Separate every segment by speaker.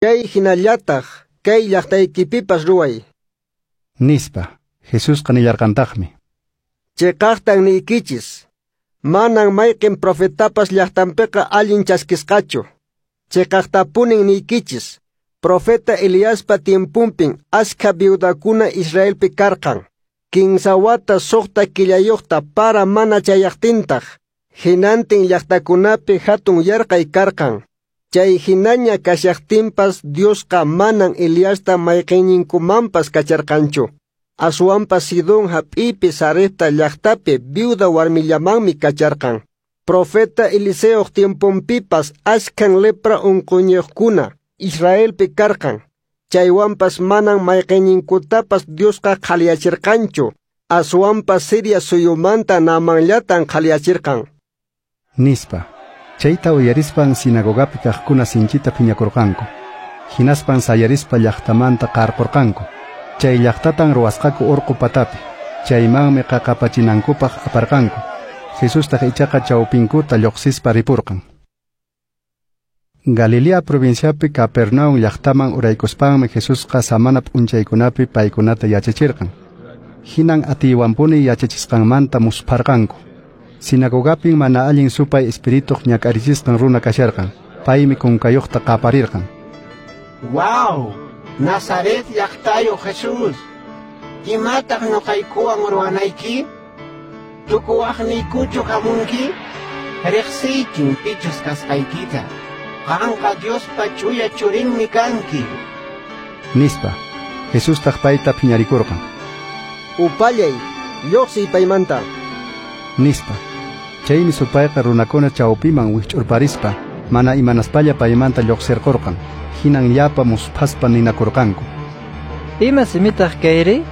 Speaker 1: Chay hinallataq kay llaqtaykipipas ruway.
Speaker 2: Nispa. Jesusqa nillarqantaqmi.
Speaker 1: Cheqaqtan niykichis, manan mayqin profetapas llaqtanpiqa allin chaskisqachu. Cheqaqtapunin niykichis, profeta Eliaspa tiemponpin askha viudakuna Israelpi karqan. 15 wata 6 killayuqta para mana chayaqtintaq, hinantin llaqtakunapi hatun yarqay karqan. Chay hinaña kashaqtinpas Diosqa manan Eliasta mayqinninkumanpas kacharqanchu. Aswanpas Sidón hap'ipi Sarepta llaqtapi viuda warmillamanmi kacharqan. Profeta Eliseoq tiemponpipas askhan lepra unquñiqkuna Israelpi karqan. Chaywanpas manan mayqinninkutapas Diosqa qhaliyachirqanchu. Aswanpas Siria suyumanta Naamanllatan qhaliyachirqan.
Speaker 2: Nispa. Chayta uyarispan sinagogapi kaqkuna sinchita phiñakurqanku. Hinaspan sayarispa llaqtamanta qarqurqanku. Chay llaqtatan ruwasqaku urqu patapi. Chaymanmi qaqapachinankupaq aparqanku. Jesustaq ichaqa chawpinkuta lluqsispa ripurqan. Galilea provinciapi Capernaum llaqtaman uraykuspanmi Jesusqa samana p'unchaykunapi paykunata yachachirqan. Hinan atiywanpuni yachachisqanmanta muspharqanku. Sinagogapin mana allin supay espirituq ñak'arichisqan runa kasharqan. Paymi kunkayuqta qaparirqan.
Speaker 3: ¡Wow! Nazaret llaqtayo Jesús! Imataq ñuqaykuwan ruwanayki? Tukuwaqniykuchu hamunki? Riqsiykin pichus kasqaykita. Qanqa Diospa ch'uya churinmi kanki.
Speaker 2: Nispa. Jesustaq payta phiñarikurqan.
Speaker 1: Upallay, lluqsiy paymanta.
Speaker 2: Nispa. Chaymi supayqa runakuna chawpiman wikch'urparispa mana imanaspalla paymanta lluqsirqurqan. Hinan llapa musphaspa ninakurqanku.
Speaker 4: Ima simitaq kayri?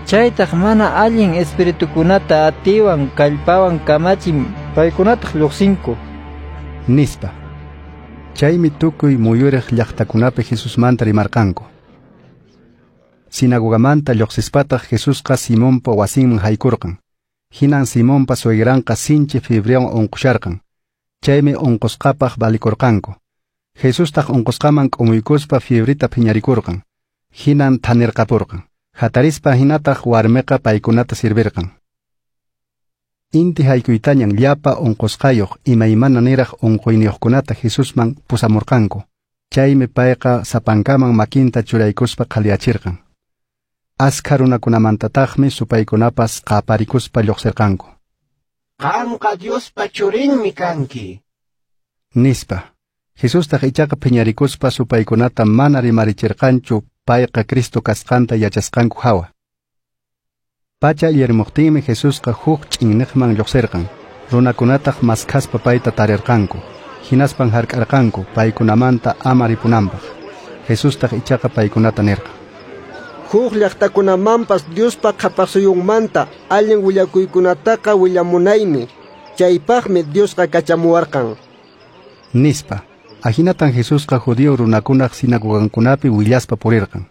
Speaker 4: Chaytaq mana allin espiritukunata atiwan kallpawan kamachin paykunataq lluqsinku.
Speaker 2: Nispa. Chaymi tukuy muyuriq llaqtakunapi Jesusmanta rimarqanku. Sinagogamanta lluqsispataq Jesusqa Simonpa wasinman haykurqan. Hinan Simonpa suegranqa sinchi fiebriwan unqusharqan. Chaymi unqusqapaq valikurqanku. Jesustaq unqusqaman k'umuykuspa fiebrita phiñarikurqan. Hinan thanirqapurqan. Hatarispa hinataq warmiqa paykunata sirvirqan. Inti haykuytañan llapa unqusqayuq imaymana niraq unquyniyuqkunata Jesusman pusamurqanku. Chaymi payqa sapankaman makinta churaykuspa qhaliyachirqan. Askha runakunamantataqmi supaykunapas qaparikuspa lluqsirqanku.
Speaker 3: Qanqa Diospa churinmi kanki.
Speaker 2: Nispa. Jesustaq ichaqa phiñarikuspa supaykunata mana rimarichirqanchu payqa Cristo kasqanta yachasqanku hawa. Pacha illarmuqtinmi Jesusqa huk ch'inniqman lluqsirqan. Runakunataq maskhaspa payta tarirqanku. Hinaspan hark'arqanku paykunamanta ama ripunanpaq. Jesustaq ichaqa paykunata nirqan.
Speaker 1: Huk llaqtakunamanpas Diospa qhapaqsuyunmanta allin willakuykunataqa willamunaymi. Chaypaqmi Diosqa kachamuwarqan.
Speaker 2: Nispa. Ahinatan Jesusqa judío runakunaq sinagogankunapi willaspa purirqan.